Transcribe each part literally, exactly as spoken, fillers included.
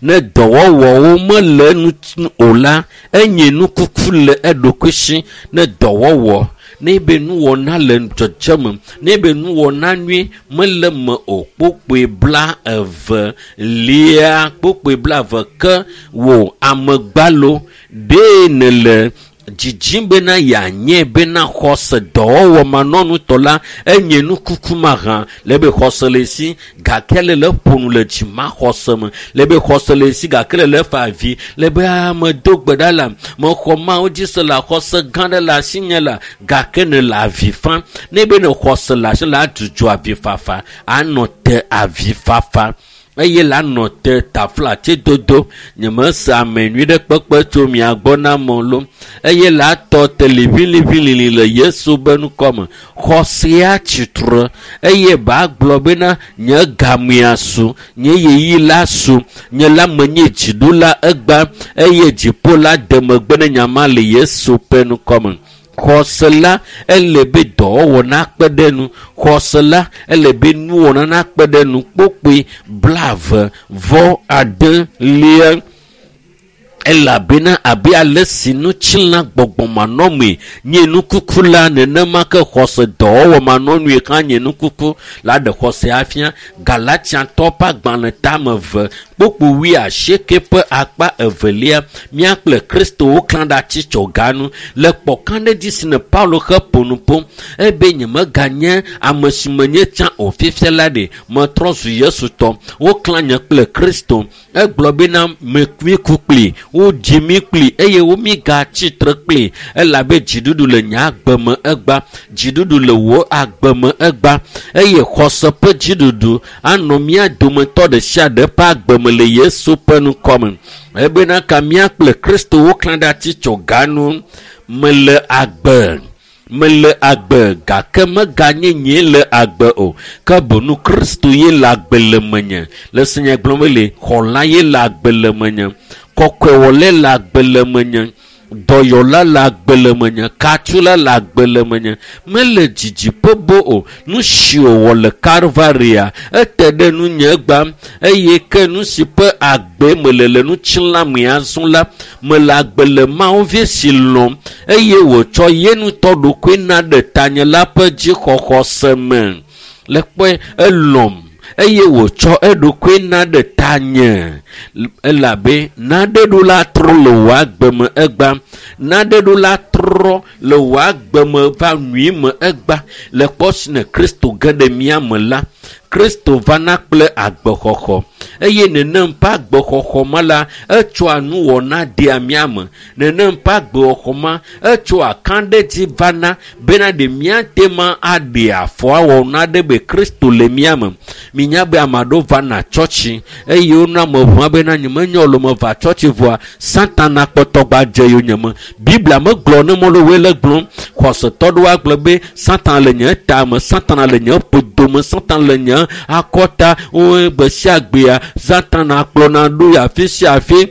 Ne dɔwɔwɔwo mele enu o la, enye nukuku le eɖokui si. Ne dɔwɔwɔ ne be nuwɔna le dzɔdzɔme, ne be nuwɔna nyui mele me o. Kpokpoe bla eve lia kpokpoe bla eve ke wò amegbalo ɖee nele dzidzim bena yeanye bena xɔse dɔwɔwɔ manɔnutɔ la enye nukuku mahã le be xɔse le si gake le le ƒo nu le dzimaxɔse me le be xɔse le si gake le le fa avi le be ame do gbe ɖa la mexɔ Mawu dzi se la xɔse gã ɖe le asinye la gake ne le avi fam ne be ne xɔse le asi la adzudzɔ avifafa anɔ te avifafa eye la nɔ te taflatse dodo nyemese ame nyui ɖe kpekpe tso mia gbɔ na amewo lo eye la tɔ te liʋiliʋilili le Yesu be ŋkɔme. Xɔsea tsitre eye ba gblɔ bena nye gamea su, nye ɣeyiɣi la su, nye la menye dziɖula egba eye dziƒo la de megbe ne nyama le Yesu ƒe ŋkɔme. Xɔse la ele be dɔwɔwɔ nakpe ɖe nu. Xɔse la ele be nuwɔna nakpe ɖe nu. Kpokpoe blaeve vɔ ade lia elabena abe ale si ŋutilã gbɔgbɔmanɔmee nye nukuku la nenema ke xɔse dɔwɔwɔ manɔnue hã nye nukuku la ɖe xɔse afia. Galatiatɔ ƒe agbalẽ tame eve kpokpo wuiasieke ƒe akpa evelia mía kple Kristo woklã ɖe atitsɔga nu le kpɔkaɖedzi si ne Paulo he ƒo nu ƒom ebe nyemeganye ame si menye tsã o fifia la ɖe metrɔ zu Yesu tɔ. Woklã nye kple Kristo. Egblɔ bena mí ku kpli, wodzi mí kpli eye wo mígatsi tre kpli elabe dziɖuɖu le nye agbe me egba, dziɖuɖu le wò agbe me egba eye xɔse ƒe dziɖuɖu anɔ mía dometɔ ɖe sia ɖe ƒe agbe me le Yesu ƒe ŋkɔme. Ebena ka mía kple Kristo woklã ɖe atitsɔga nu. Mele agbe, mele agbe gake meganye nyee le agbe o ke boŋ Kristo ye le agbe le menye. Le si nye gblɔm le xɔla ye le agbe le menye, kɔkɔewɔlae le agbe le menye, dɔyɔla le agbe le menye, katsula le agbe le menye. Mele dzidziƒe bo o. Nu si wòwɔ le Kalvaria ete ɖe nunye egba eye ke nu si ƒe agbe mele le ŋutilã me azɔ la mele agbe le Mawu vi si lɔ̃m eye wòtsɔ ye ŋutɔ ɖokui na ɖe tanye la ƒe dzixɔxɔse me. Le kpɔe elɔ̃m eye wòtsɔ eɖokui na ɖe tanye elabe naɖe ɖo la trɔ le wò agbe me egba, naɖe ɖo la trɔ le wò agbe me va nyui me egba. Le kpɔ si ne Kristo ge ɖe mía me la, Kristo vana kple agbexɔxɔ eye nenem ƒe agbexɔxɔ ma la etsɔa nuwɔna dea mía me. Nenem ƒe agbexɔxɔ ma etsɔa kaɖedzi vana bena ɖe míate ma aɖe afɔ awɔ naɖe be Kristo le mía me. Minya be ame aɖewo vana tsɔtsi eye wonɔ ame ʋã bena nyemenye o meva tsɔtsi vɔa Satana kpɔtɔ gba dze yonyeme. Biblia megblɔ ne mɔɖewoe le gblɔm. Xɔsetɔ ɖewo agblɔ be Satana le nye tame, Satana le nye ƒodome, Satana le nye akɔta. Wo gbe sia gbea Satana kplɔna ɖo afi sia afi.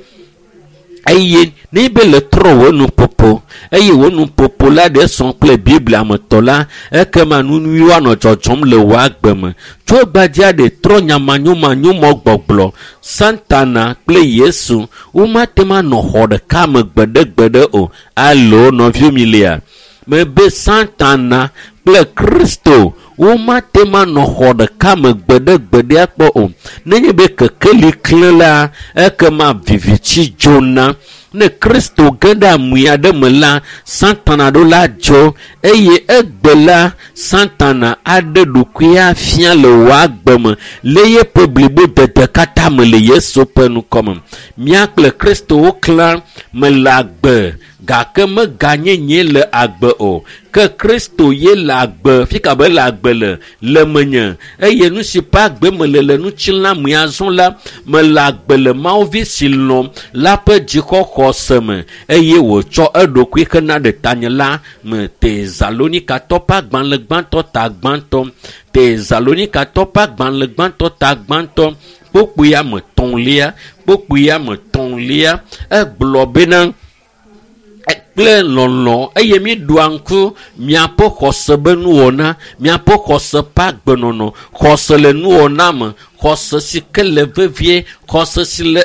Eye ne be le trɔ wò nuƒoƒo eye wò nuƒoƒo la ɖe sɔ kple Biblia me tɔ la, ekema nu nyuiwo anɔ dzɔdzɔm le wò agbe me. Tso gbadzea ɖe trɔ nyamanyomanyomɔ gbɔgblɔ. Satana kple Yesu womate ŋu anɔ xɔ ɖeka me gbeɖegbeɖe o. Alo nɔviwo mi lia? Mebe Satana kple Kristo womate ŋu anɔ xɔ ɖeka me gbeɖegbeɖe akpɔ o. Nenye be kekeli klẽ la, ekema viviti dzona. Ne Kristo ge ɖe amui aɖe me la, Satana ɖo la dzo eye egbe la, Satana aɖe ɖokui afia le wò agbe me le yeƒe blibodede katã me le Yesu ƒe ŋkɔme. Mía kple Kristo woklã mele agbe gake meganye nye le agbe o ke Kristo ye le agbe fika be le agbe le le menye eye nu si ƒe agbe mele le ŋutilã me azɔ la mele agbe le Mawu vi si lɔ̃m la ƒe dzixɔxɔse me eye wòtsɔ eɖokui hena ɖe tanye la me. Tesalonikatɔ ƒe agbalẽ gbãtɔ ta gbãtɔ Tesalonikatɔ ƒe agbalẽ gbãtɔ ta gbãtɔ kpokpoe ame etɔ̃lia kpokpoe ame etɔ̃lia egblɔ bena kple lɔlɔ eye míeɖoa ŋku miaƒe xɔse be nuwɔna, miaƒe xɔse ƒe agbenɔnɔ, xɔse le nuwɔna me, xɔse si ke le vevie, xɔse si le